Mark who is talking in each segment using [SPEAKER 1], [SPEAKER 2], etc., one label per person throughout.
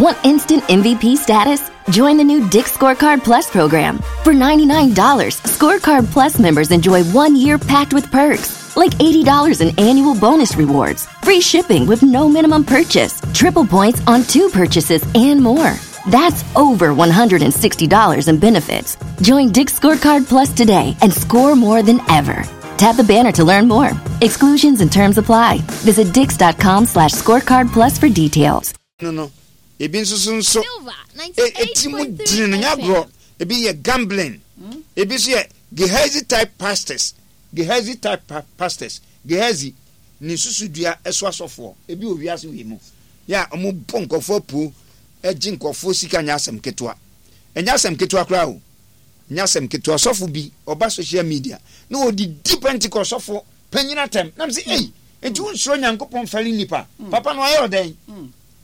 [SPEAKER 1] Want instant MVP status? Join the new Dick's Scorecard Plus program. For $99, Scorecard Plus members enjoy 1 year packed with perks, like $80 in annual bonus rewards, free shipping with no minimum purchase, triple points on two purchases, and more. That's over $160 in benefits. Join Dick's Scorecard Plus today and score more than ever. Tap the banner to learn more. Exclusions and terms apply. Visit dicks.com/scorecardplus for details.
[SPEAKER 2] No, ebi nso so nso eti mu dini no nyɛ agorɔ. Ebi yɛ gambling, ebi nso yɛ Gehazi type pastors, Gehazi type pastors, Gehazi ne susudua ɛso asɔfoɔ. Ebi wɔ wiase wei mu yɛ a wɔn bɔ nkɔfoɔ apuo, ɛgye nkɔfoɔ sika. Nyɛ asɛm ketewa, ɛnyɛ asɛm ketewa koraa o, nyɛ asɛm ketewa. Sɔfo bi ɔba social media na ɔdidi Pentecost sɔfo panyin atɛm nam sɛ, "Ei, nti wonsuro Nyankopɔn? Fɛre nipa papa no ayɛ ɔdɛn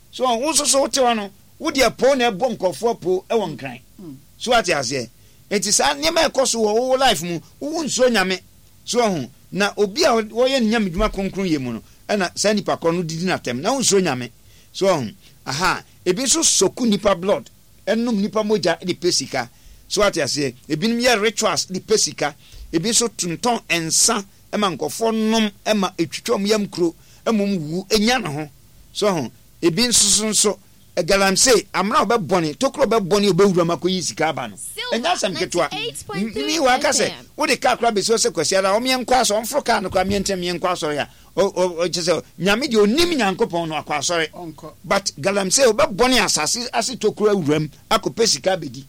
[SPEAKER 2] so? Wo nso so wote hɔ no, wode apo na ɛbɔ nkɔfoɔ apo ɛwɔ Nkran so." Ate aseɛ? Nti saa nneɛma ɛkɔ so wɔ wo life mu, wowo nsuro Nyame so ɔho na obi a wɔyɛ ne Nyame dwuma kronkron yɛ mu no, ɛna saa nipa korɔ no didi n'atɛm na wonsuro Nyame so ɔho aha. Ebi nso suck nipa blood, ɛnom nipa mogya de pɛ sika so. Ate aseɛ? Ebinom yɛ rituals de pɛ sika. Ebi nso tontɔn nsa ɛma nkɔfoɔ nom, ɛma etwitwa wɔn yam kuro, ɛma wɔn wu enya ne ho so ho. Ebi nso so nso galamsey amena a ɔbɛbɔne tokuro ɔbɛbɔne ɔbɛwura mu akɔyi sika aba no, ɛnyɛ asɛm ketewa. Mi wa aka sɛ wode kaa koraa bɛsi hɔ sɛ Kwasi ara ɔmeɛ nkɔ asɔre, ɔmforo kaa no koraa meɛ ntɛm meɛ nkɔ asɔre a, ɔkyɛ sɛ Nyame deɛ onim Nyankopɔn no akɔ asɔre, but galamsey ɔbɛbɔne asase ase tokuro awura mu akɔpɛ sika abɛdi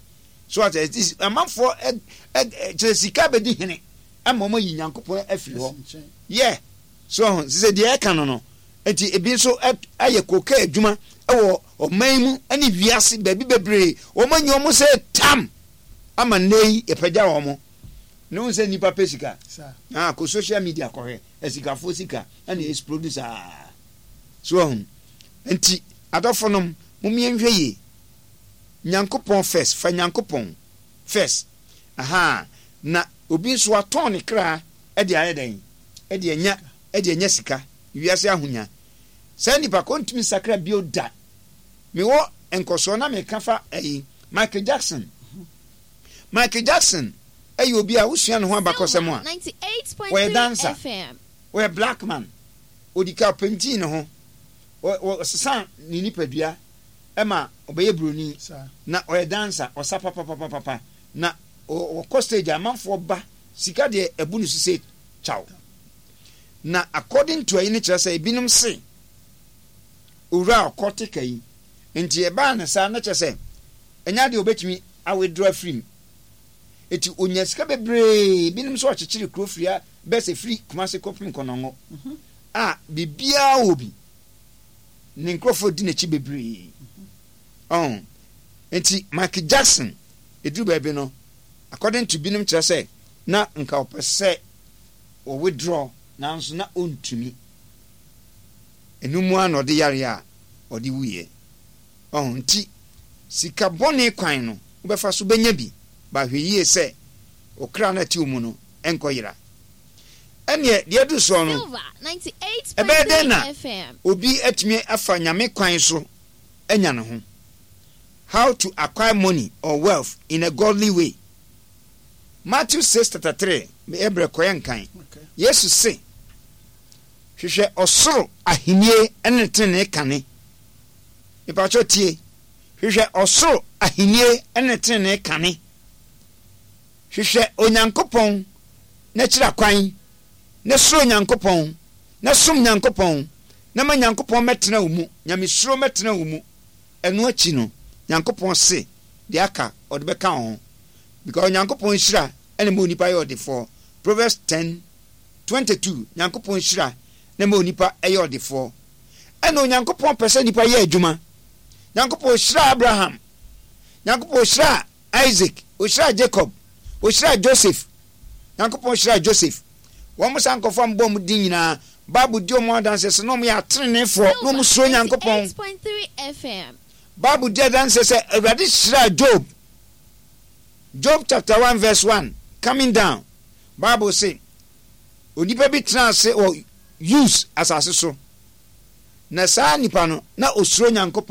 [SPEAKER 2] so. Ate amanfoɔ ɛ ɛ kyerɛ sika abɛdi hene ama wɔn ayi Nyankopɔn afiri hɔ yɛ so ɔho sɛ deɛ ɛka no. Nti ebi nso ayɛ koka adwuma wɔ ɔman mu ne wiase baabi bebree. Wɔn anyi wɔn sɛ tam ama nnɛ yi yɛpɛgya wɔn ne wɔn sɛ nipa pɛ sika. Ah, kɔ social media kɔhwɛ asikafoɔ sika ɛna explode saa so ɔho. Nti adɔfo nom, mo mmiɛnhwɛ yie. Nyankopɔn first, fa Nyankopɔn first. Aha na obi nso atɔn ne kra ɛde ayɛ dɛn, ɛde anya sika, wiase ahonya. Saa nipa ko ntumi sakra bio da. Mewɔ nkɔsoɔ na meka fa ɛyi Michael Jackson. Michael Jackson ɛyɛ obi a wosua ne ho abakɔsɛm a, wɔyɛ dancer, wɔyɛ black man. Odi ka paint ne ho, ɔsesa ne nipadua ɛma ɔbɛyɛ broni na ɔyɛ dancer. Ɔsa papapapapa na ɔkɔ stage, amanfoɔ ba, sika deɛ ɛbu ne so sɛ kyaw. Na according to ayi no, kyerɛ sɛ ebinom se owura a ɔkɔ teka yi nti ɛbaa ne saa na kyerɛ sɛ ɛnyɛ adeɛ obetumi awithdraw afiri mu. Eti onya sika bebree. Binom nso ɔkyekyere kuro firi a bɛsɛ firi Kumase kɔpem Kɔnɔngo a biribiara wɔ bi. Ne nkurɔfoɔ di n'akyi bebree ɔn. Nti Michael Jackson eduru baabi no, according to binom, kyerɛ sɛ na nka ɔpɛ sɛ ɔwithdraw nanso na ɔntumi. Ɛno mu a na ɔde yare a ɔde wuyɛ ɔn. Nti sika bɔne kwan no wobɛfa so bɛnya bi ba, hwɛ yie sɛ ɔkra no ate mu no ɛnkɔ yera. Ɛneɛ deɛ adu soɔ no, ɛbɛyɛ dɛn na obi atumi afa Nyame kwan so anya ne ho? How to acquire money or wealth in a godly way. Matthew 6:33, ɛbrɛ kɔyɛ nkan. Yesu se, "Hwehwɛ ɔsoro ahennie ne tenenee kane." Mepakyɛw tie, hwehwɛ ɔsoro ahennie ne tenenee kane. Hwehwɛ Onyankopɔn n'akyiri akwan na suro Nyankopɔn na som Nyankopɔn na ma Nyankopɔn mɛtena wo mu, Nyamesuro mɛtena wo mu. Ɛno akyi no, Nyankopɔn se deɛ aka ɔde bɛka wo ho, because Onyankopɔn nhyira ɛna ma onipa yɛ ɔdefoɔ. Proverbs 10:22, Nyankopɔn nhyira na ma onipa ɛyɛ ɔdefoɔ. Ɛna Onyankopɔn pɛ sɛ nipa yɛ adwuma. Nyankopɔn hyira Abraham, Nyankopɔn hyira Isaac, ohyira Jacob, ohyira Joseph. Nyankopɔn hyira Joseph. Wɔn mo saa nkɔfoɔ a mbɔ wɔn din nyinaa, Bible di wɔn adanseɛ sɛ na wɔn yɛ ateneneefoɔ na wɔn suro Nyankopɔn. Bible di adanseɛ sɛ Awurade hyira Job. Job chapter 1 verse 1 coming down, Bible say onipa bi tena ase wɔ Us asase so, na saa nipa no na osuro Nyankopɔn.